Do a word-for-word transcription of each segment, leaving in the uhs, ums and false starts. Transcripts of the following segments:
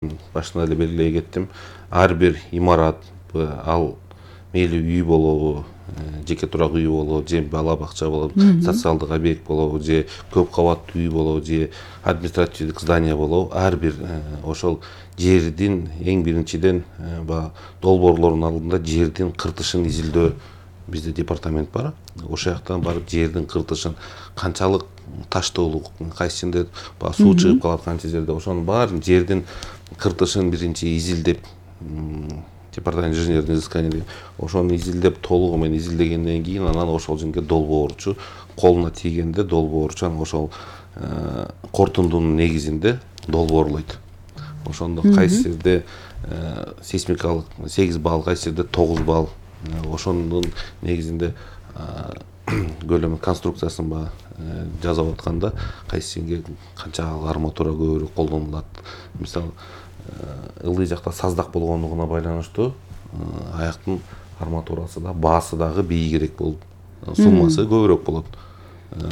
башында эле белгилей кеттим. Ар бир имарат, ал мейли үй болобу, жеке турак үй болобу, же бала бакча болобу, социалдык объект болобу, же көп кабаттуу үй болобу, же административдик здание болобу, ар бир ошол жердин эң биринчиден баягы долбоорлордун алдында жердин кыртышын изилдөө бизде департамент бар. Ошол жактан барып жердин кыртышын канчалык таштоолук, кайсында баягы суу чыгып калат, канча жерде ошонун баарын жердин кыртышын биринчи изилдеп, департамент инженерный изыскание деген ошону изилдеп толугу менен изилдегенден кийин анан ошол жерге долбоорчу колуна тийгенде долбоорчу анан ошол корутундунун негизинде долбоорлойт. Ошондо кайсы жерде сейсмикалык сегиз балл, кайсы жерде тогуз балл, ошонун негизинде көлөмү конструкциясын ба жасап атканда кайсы жерге канча арматура көбүрөөк колдонулат. Мисалы ылдый жакта саздак болгондугуна байланыштуу аяктын арматурасы да, баасы дагы бийигирээк болуп, суммасы көбүрөөк болот.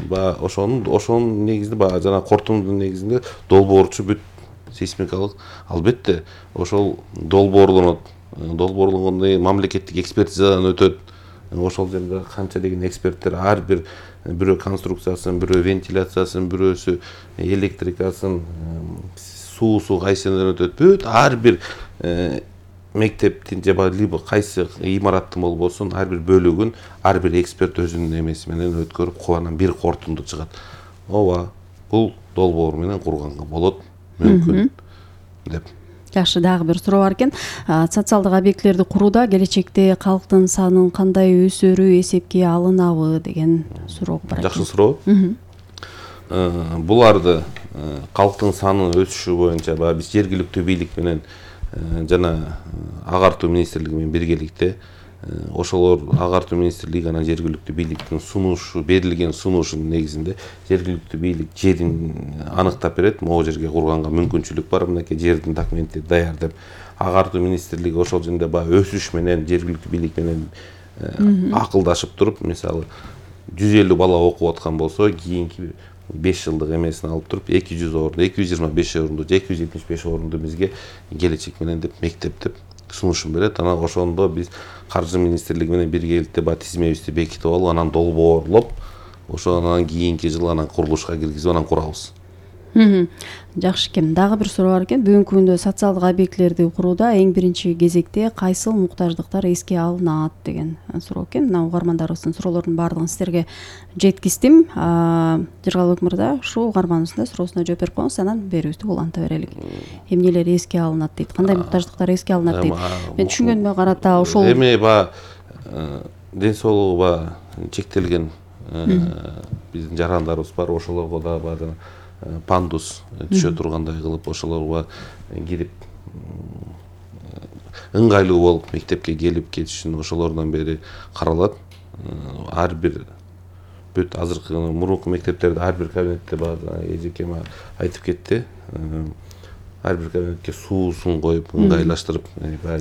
Баягы ошонун ошонун негизинде баягы жана корутундун негизинде долбоорчу бүт сейсмикалык албетте ошол долбоорлонот. Долбоорлонгондон кийин мамлекеттик экспертизадан өтөт. Ошол жерде канча деген эксперттер ар бир бирөө конструкциясын, бирөө вентиляциясын, бирөөсү электрикасын, суусу кайсынан өтөт. Бүт ар бир мектептин же либо кайсы имараттын болбосун ар бир бөлүгүн ар бир эксперт өзүнүн эмеси менен өткөрүп, анан бир корутунду чыгат. Ооба, бул долбоор менен курганга болот, мүмкүн деп. Жакшы, дагы бир суроо бар экен. Социалдык объектлерди курууда келечекте калктын санын кандай өсөрү эсепке алынабы деген суроо бар. Жакшы суроо. Буларды калктын санын өсүшү боюнча баягы биз жергиликтүү бийлик менен жана агартуу министрлиги менен биргеликте ошолор агартуу министрлиги анан жергиликтүү бийликтин сунушу, берилген сунушунун негизинде жергиликтүү бийлик жерин аныктап берет. Могу жерге курганга мүмкүнчүлүк бар, мынакей жердин документи даяр деп. Агартуу министрлиги ошол жерде баягы өсүш менен жергиликтүү бийлик менен акылдашып туруп, мисалы жүз элүү бала окуп аткан болсо, кийинки беш жылдык эмесин алып туруп эки жүз орунду, эки жүз жыйырма беш орунду, эки жүз жетимиш беш орунду бизге келечек менен деп мектеп деп сунушун берет. Анан ошондо биз каржы министрлиги менен биргеликте баягы тизмебизди бекитип алып, анан долбоорлоп, ошо анан кийинки жылы анан курулушка киргизип анан курабыз. Жакшы экен. Дагы бир суроо бар экен. Бүгүнкү күндө социалдык объектлерди курууда эң биринчи кезекте кайсыл муктаждыктар эске алынат деген суроо экен. Мына угармандарыбыздын суроолорунун баардыгын сиздерге жеткиздим. Жыргалбек мырза, ушул угарманыбыздын суроосуна жооп берип коюңуз, анан берүүбүздү уланта берелик. Эмнелер эске алынат дейт? Кандай муктаждыктар эске алынат дейт? Мен түшүнгөнүмө карата ошол эми баягы ден соолугу баягы чектелген биздин жарандарыбыз бар, ошолорго да баягы пандус түшө тургандай кылып ошолорго кирип ыңгайлуу болуп мектепке келип кетишин ошолордон бери каралат. Ар бир бүт азыркы мурунку мектептерде ар бир кабинетте бар, эжекем айтып кетти. Ар бир кабинетке суусун коюп, ыңгайлаштырып,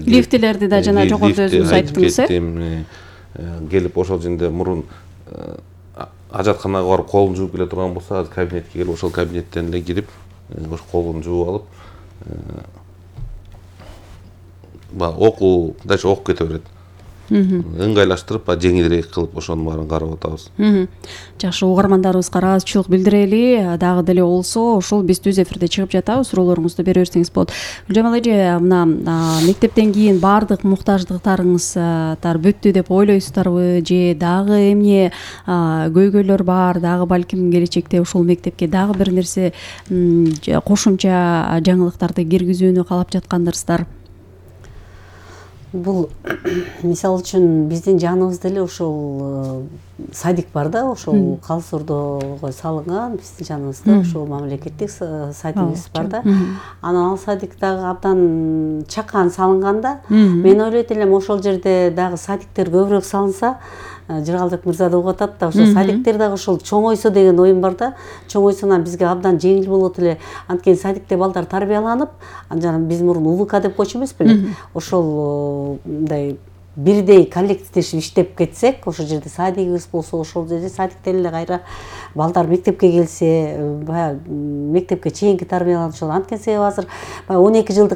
лифтилерди да жана жогоруда өзүңүз айттыңыз, э? Келип ошол жерде мурун ажатканага барып колун жууп келе турган болсо, азыр кабинетке келип ошол кабинеттен эле кирип, ошо колун жууп алып, баягы окуу, дальше окуп кете берет. Ыңгайлаштырып, жеңилирээк кылып ошонун баарын карап атабыз. Жакшы, угармандарыбызга ыраазычылык билдирели. Дагы деле болсо, ошол биз түз эфирде чыгып жатабыз. Суроолоруңузду бере берсеңиз болот. Гүлжамал эже, мына мектептен кийин баардык муктаждыктарыңыздар бүттү деп ойлойсуздарбы, же дагы эмне көйгөйлөр бар, дагы балким келечекте ушул мектепке дагы бир нерсе кошумча жаңылыктарды киргизүүнү каалап жаткандырсыздар? Бул мисалы үчүн биздин жаныбызда эле ошол садик бар да, ошол Калсурдого салынган биздин жаныбызда ошол мамлекеттик садигибиз бар да. Анан ал садик дагы абдан чакан салынганда, мен ойлойт элем ошол жерде дагы садиктер көбүрөөк салынса, Жыргалбек мырза да угуп атат да, ошол садиктер дагы ошол чоңойсо деген оюм бар да. Чоңойсо бизге абдан жеңил болот эле. Анткени садикте балдар тарбияланып, анан биз мурун УВК деп койчу эмес беле? Ошол мындай бирдей коллективдешип иштеп кетсек, ошол жерде садигибиз болсо, ошол жерде садиктен эле кайра балдар мектепке келсе, баягы мектепке чейинки тарбияланышып, анткени себеби азыр баягы он эки жылдык